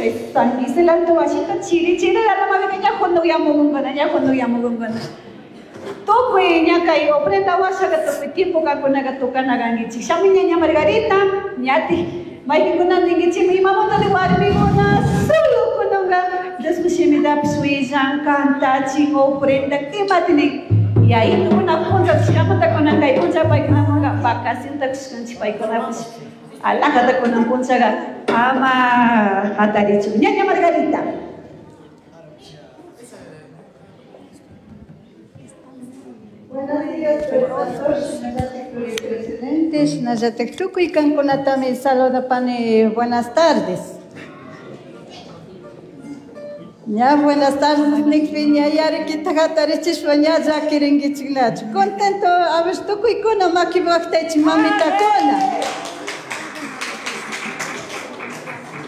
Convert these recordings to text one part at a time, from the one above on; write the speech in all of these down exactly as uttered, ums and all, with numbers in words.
Chay San Miguel Alto wasita chiri chiri alamapica ña junukyamukunkuna ña junukyamukunkuna. Tukuy ña kay ofrenda washaqa tukuy tiempo kankunaqa tukana kankichik. Shamuy ñaña Margarita, ñatik maypinkuna ninkichikmi imamantati warmikuna solo kunanka Diospa shimitapish willan, kantachin, ofrenda, imati nin. Yayitukuna punchachishkamanta kunan kay puncha paykunamanka vacacionta kushkanchik paykunapish alajata kunan punchaqa ama hatarichun. Ñaña Margarita. Buenos días, pastor, presidente, shinallatak tukuy kankunatami saludapani. Buenas tardes. Ña buenas tardes nikpi ña yarikita hatarichishpa ña llakirinkichiknachu. Contento, a ver, tukuykuna makiwaqtaychik mamitakuna.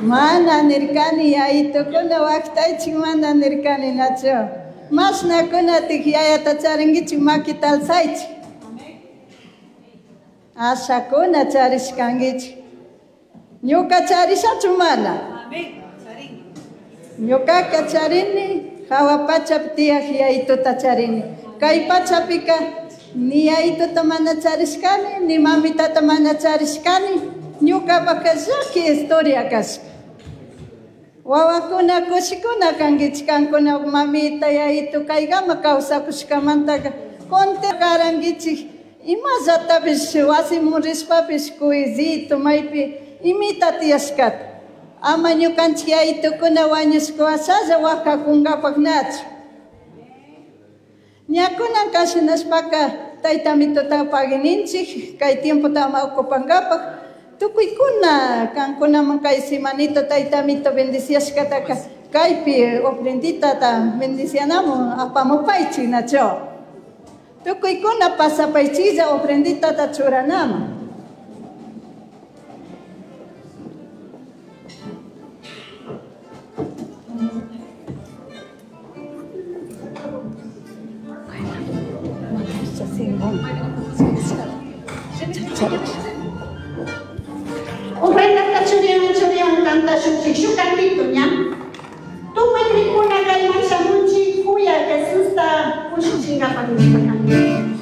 Mana nirkani yayitukuna waqtaychik mana nirkani nachu. Mashnakunatik yayata charinkichik makita alzaychik. Ashakuna charishkankichik. Ñuka charishachu mana. Ñukaka charini hawa pachapi tiyak yayituta charini. Kay pachapika ni yayituta mana charishkani, ni mamitata mana charishkani. Ñukapaka llaki historia kashka. Wawakuna kushikuna kankichik kankuna mamita yayitu kaykama kawsakushkamantaka conte karankichik imallatapish wasiman rishpapish kuyzito maypi imita tiyashkata. Ama ñukanchik yayitukuna wañushka washalla waqakunkapaknachu. Ña kunan kashinashpaka taytamituta paguininchik kay tiempota ama ocupankapak. Tukuykuna kankunaman kay semanita taytamito bendiciashkataka kaypi ofrenditata bendicianamun apamupaychik nachu. Tukuykuna pasapaychiklla ofrenditata churanaman. Ofrendata churiwan churiwan kantashunchik shuk kantito ña. Tukuy krikuna kayman shamunchik kuya Jesusta kushichinkapak nishpa kanchik.